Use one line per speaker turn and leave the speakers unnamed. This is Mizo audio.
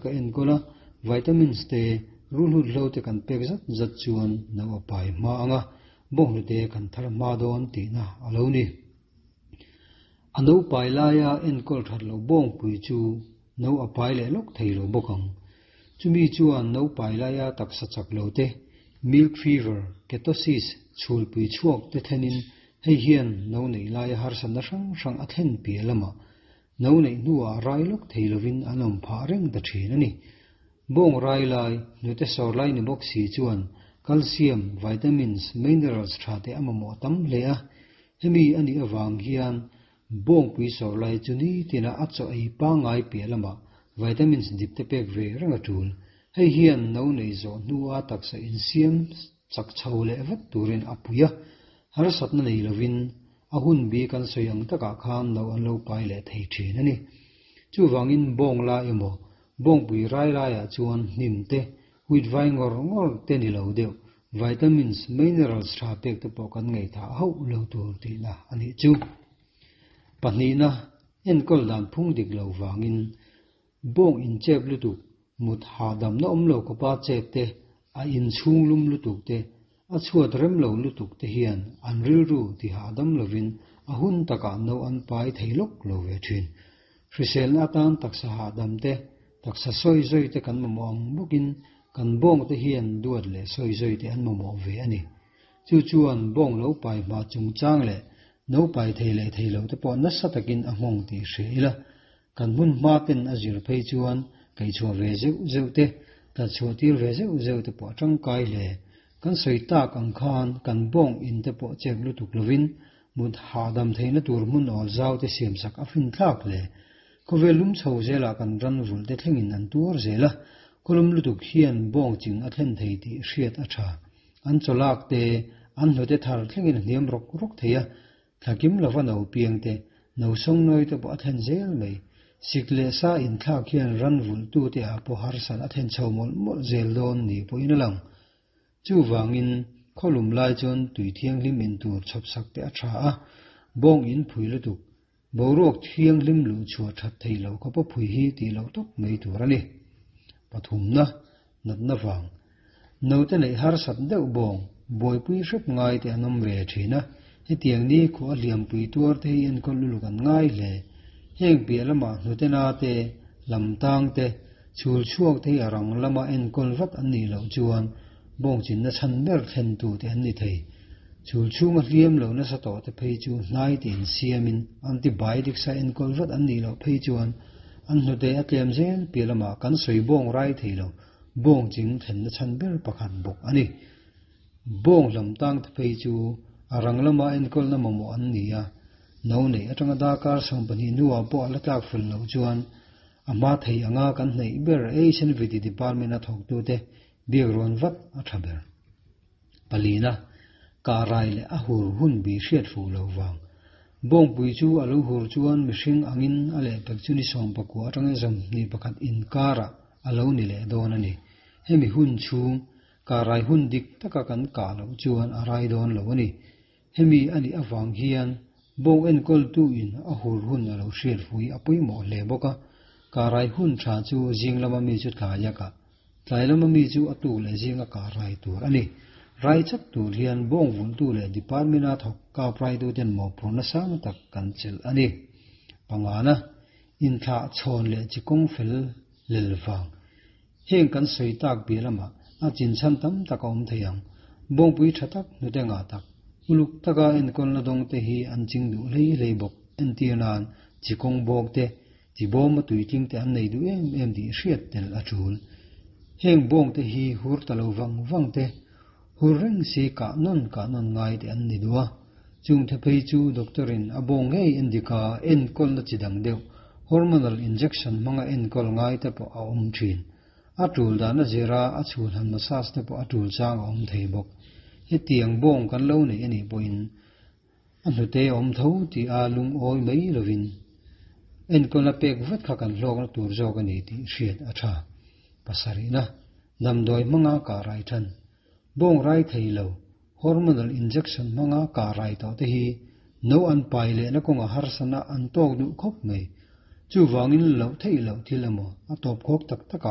Ka enkawl a, vitamins te, rulhut hlo te kan pek zat zat chuan no a pai hma ang a, bawnghnute kan thar hma dawn tihna a lo ni. A no pai laia enkawl that loh bawngpui chu no a pai leh lawk thei lo bawk ang. Chumi chuan no pai laia taksa chak lo te, milk fever, ketosis, chhulpui chhuak te thlenin hei hian no neih laia harsatna hrang hrang a thlen piah lamah No neih hnuah rai lawk thei lovin an awm phah reng ta thin a ni. Bawng rai lai, hnute sawr lai ni bawk si chuan calcium, vitamins, minerals tha te a mamawh tam hle a. Hemi a nih avang hian bawngpui sawr lai chu nitina a chaw ei pangngai piah lamah vitamins dip te pek ve reng a tul. Hei hian no nei zawh hnua taksa insiam chak chho leh vat turin a pui a, harsatna nei lovin A hun bi kan sawi ang takah khan no an lo pai leh thei thin a ni. Chuvangin bawng la emaw, bawngpui rai laiah chuan hnim te, wheat vai ngawr ngawr te ni lo deuh, vitamins, minerals tha pek te pawh kan ngaihthah hauh lo tur tihna a nih chu. Pahnihna, enkawl dan phung dik lo vangin bawng inchep lutuk, mut hahdamna awm lo khawpa chep te, a inchhung lum lutuk te, A chhuat rem lo lutuk te hian an rilru ti hahdam lovin a hun takah no an pai thei lawk lo ve thin. Hriselna atan taksa hahdam te, taksa sawi zawi te kan mamawh ang bawkin kan bawng te hian duat leh sawi zawi te an mamawh ve a ni. Chu chuan bawng lo pai hma chungchang leh no pai thei leh thei lo te pawh nasa takin a nghawng tih hria ila, Kan hmun hma ten a zir phei chuan kaihchhuah ve zeuh zeuh te, tlatchhuah tir ve zeuh zeuh te pawh a tangkai hle. Kan sawi tak ang khan kan bawng in te pawh chep lutuk lovin mut hahdam theihna tur hmun awl zau te siamsak a finthlak hle. Khawvel lum chho zelah kan ran vulh te thlengin an tuar zel a, khawlum lutuk hian bawng ching a thlen thei tih hriat a tha. An chawlak te, an hnute thar thlengin a hniam rawk rawk thei a, Thlakim lova no piang te, no sawngnawi te pawh a thlen zel mai. Sik leh sa inthlak hian ran vulhtu te ah pawh harsat a thlen chho mawlh mawlh zel dawn ni pawhin a lang. Chuvangin, khawlum lai chuan tui thianghlim in tur chhawpsak te a tha a, bawng in phui lutuk, boruak thianghlim luh chhuah that thei lo kha pawh phui hi tih loh tawp mai tur a ni. Pathumna, natna vang. Note neih harsat deuh bawng, buaipui hrep ngai te an awm ve thin a, hetiang ni khua hliampui tuar te hi enkawl luluk an ngai hle. Heng piah lamah hnute na te, lam tang te, chhul chhuak te hi a rang lama enkawl vat an nih loh chuan bawng chinna chhan ber thlen tu te an ni thei. Chhul chhunga hliam lo nasa tawh te phei chu hnai te insiamin antibiotics a enkawl vat an nih loh phei chuan an hnute a tlem zel piah lamah kan sawi bawng rai thei lo. Bawng ching thlenna chhan ber pakhat bawk a ni. Bawng hlam tang te phei chu a rang lama enkawlna mamawh an ni a, no neih atanga darkar 12 hnuah pawh a la tlak fel loh chuan a hma thei anga kan hnaih ber Asian Viti Department a thawktute biak rawn vat a tha ber. Palina, kah rai leh a hur hun bi hriat fuh lo vang. Bawngpui chu a lo hur chuan mihring angin a lehpek chu ni 19 atangin 21 inkarah a lo ni leh dawn a ni. Hemi hun chhung, kah rai hun dik taka kan kah loh chuan a rai dawn lo a ni. Hemi a nih avang hian bawng enkawltu in a hur hun a lo hriat fui a pawimawh hle bawk a, kah rai hun tha chu zing lama mi chu tlai a kah, tlai lama mi chu a tuk leh zing a kah rai tur a ni. Rai chak tur hian bawng vulhtu leh department a thawk kap raitu ten mawhphurhna sang tak kan chelh a ni. Pangana, inthlah chhawn leh chi kawng fel lel vang. Heng kan sawi tak bia lamah a chinchhan tam tak a awm thei ang. Bawngpui tha tak, hnute ngah tak, uluk taka enkawlna dawng te hi an ching duh hlei hlei bawk. Entir nan, chi kawng bawk te, chi bawma tuitling te an nei duh em em tih hriat tel a tul. Heng bawng te hi hur ta lo vang vang te, hur reng si kah nawn kah nawn ngai te an ni duh a. Chung the phei chu doctor in a bawng ngei endika enkawlna chi dang deuh, hormonal injection hmanga enkawl ngai te pawh a awm thin. A tul dan a zira a chhul han massage te pawh a tul chang a awm thei bawk. Hetiang bawng kan lo neih anih pawhin a hnute a awm tho tih a lungawi mai lovin enkawlna pek vat kha kan hlawkna tur zawk a ni tih hriat a tha. Pasarihna, damdawi hmanga kah rai than. Bawng rai thei lo, hormonal injection hmanga kah rai tawh te hi no an pai lehna kawngah harsana an tawk duh khawp mai. Chuvangin loh theih loh thil emaw a tawp khawk tak takah.